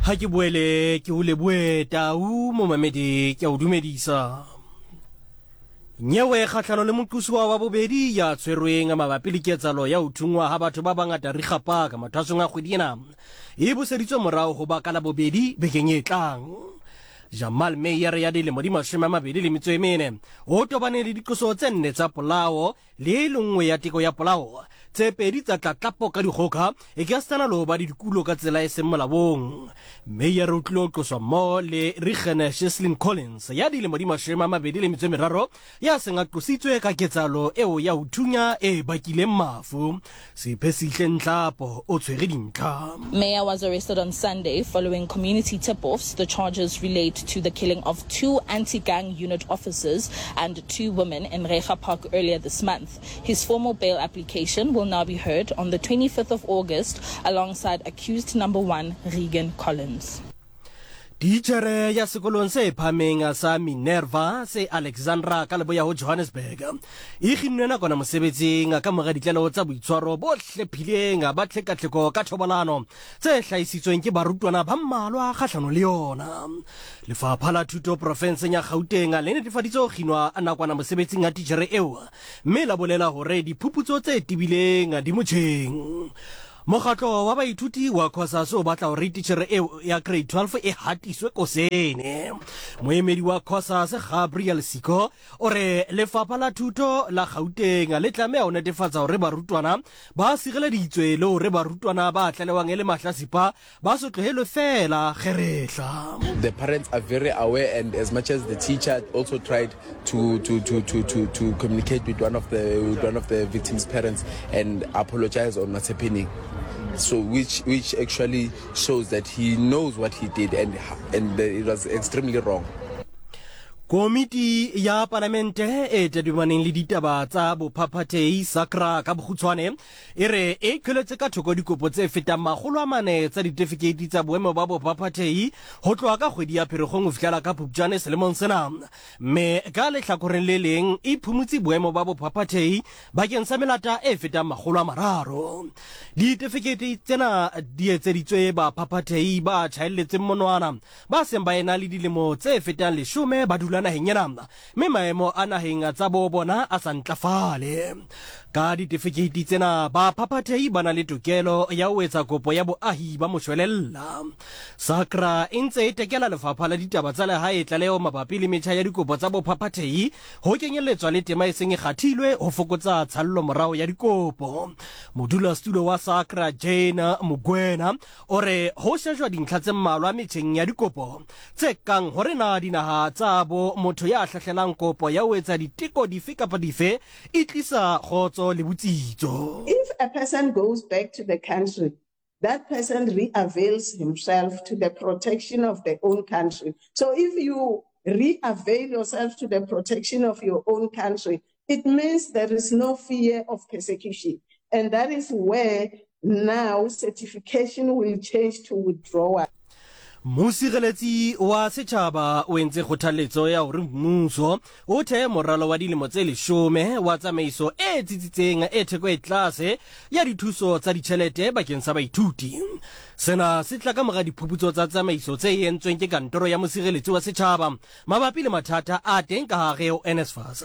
Ha ke boele ke o leboe tau momamedi ke a o dumedisa. Nyewe kgahlano le moqosuwa wa bobedi ya tshwerweng mabapi le ketsalo ya ho thungwa ha batho ba bangata Riga Park mathwasong a kgwedi ena e buseditswe morao ho ba ka Labobedi bekeng e tlang. Jamal Meyer ya dilemo di 24 o tobane le diqoso tse nne tsa polao le e le nngwe ya teko ya polao, tse pedi tsa tlatlapo ka dikgoka, e ka setsana le ho ba le dikulo ka tsela e seng molaong. Meyer o tlilo qoswa mmoho le Regan Cheslin Collins ya dilemo di 23 ya seng a qositswe ka ketsahalo eo ya ho thunya e bakileng mafu. Siphesihle Nhlapo o tshwere dintlha. Meyer was arrested on Sunday following community tip-offs. The charges relate to the killing of two anti-gang unit officers and two women in Reiger Park earlier this month. His formal bail application will now be heard on the 25th of August alongside accused number one Regan Collins. Titjhere ya sekolong se phahameng sa Minerva se Alexandra ka leboya ho Johannesburg e kginnwe nakwana mosebetsing ka mora ditlaleho tsa boitshwaro bo hlephileng ba tlhekatlheko ka thobalano tse hlahisitsweng ke barutwana ba mmalwa kgahlano le yona. Lefapha la Thuto profenseng ya Gauteng le netefaditse ho kginwa nakwana mosebetsing ha titjhere eo mme la bolela hore diphuputso tse tebileng di motjheng. Mokgatlo wa baithuti wa Cosas o batla hore titjhere eo ya grade 12 e hatiswe kosene. Moemedi wa Cosas Gabriel Siko o re lefapha la thuto la Gauteng le tlameha ho netefatsa hore barutwana ba sireleditswe le hore barutwana ba tlalewang e le mahlasipa ba se tlohelwe feela kgerehla. The parents are very aware and as much as the teacher also tried to to to to to to communicate with one of the with one of the victim's parents and apologize on what's happening. So which which actually shows that he knows what he did and and it was extremely wrong. Komiti ya Palamente e tadimaneng le ditaba tsa bophaphathehi SACRA ka bokgutshwane E re e qheletse ka thoko dikopo tse fetang 400 tsa ditefikeiti tsa boemo ba bophaphathehi ho tloha ka kgwedi ya Pherekgong ho fihlela ka Phupjane selemong sena, mme ka lehlakoreng le leng e phumutse boemo ba bophaphathehi bakeng sa melata e fetang 300. Ditefikeiti tsena di etseditswe baphaphathehi ba tjhaelletseng monwana ba seng ba ena le dilemo tse fetang leshome ba dula naheng ena mme maemo a naheng tsa bo bona a sa ntlafale. Ka ditefikeiti tsena, baphaphathehi ba na le tokelo ya ho etsa kopo ya boahi ba moshwelella. SACRA e ntse e tekela Lefapha la Ditaba tsa Lehae tlaleho mabapi le metjha ya dikopo tsa bophaphathehi ho kenyelletswa le tema e seng e kgathilwe ho fokotsa tshallomorao ya dikopo. Modulasetulo wa SACRA Jane Mokoena o re ho shejwa dintlha tse mmalwa metjheng ya dikopo tse kang hore na dinaha tsa bo motho ya hlahlelang kopo ya ho etsa diteko dife kapa dife e tlisa kgotso le botsitso. If a person goes back to the country, that person re-avails himself to the protection of their own country. So if you re-avail yourself to the protection of your own country, it means there is no fear of persecution. And that is where now certification will change to withdrawal. Mosireletsi wa setjhaba o entse kgothaletso ya hore mmuso o thee moralo wa dilemo tse leshome wa tsamaiso e tsitsitseng e theko e tlase ya dithuso tsa ditjhelete bakeng sa baithuti. Sena se tla ka mora diphuputso tsa tsamaiso tse entsweng ke kantoro ya mosireletsi wa setjhaba mabapi le mathata a teng ka hare ho NSFAS.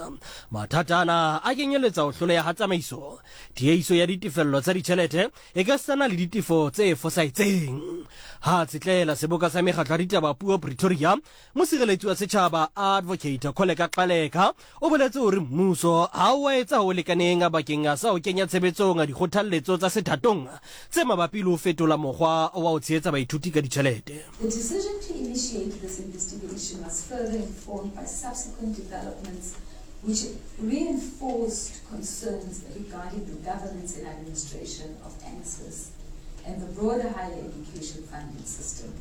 Mathata ana a kenyeletsa ho hloleha ha tsamaiso, tiehiso ya ditefello tsa ditjhelete e ka sitana le ditefo tse fosahetseng. Ha a tsetlela seboka sa mekgatlo ya ditaba puo Pretoria, mosireletsi wa setjhaba Advocate Kholeka Gcaleka o boletse hore mmuso ha o a etsa ho lekaneng bakeng sa ho kenya tshebetsong dikgothalletso tsa sethatong tse mabapi le ho fetola mokgwa wa ho tshehetsa baithuti ka ditjhelete. The decision to initiate this investigation was further informed by subsequent developments which reinforced concerns regarding the governance and administration of NSFAS and the broader higher education funding system.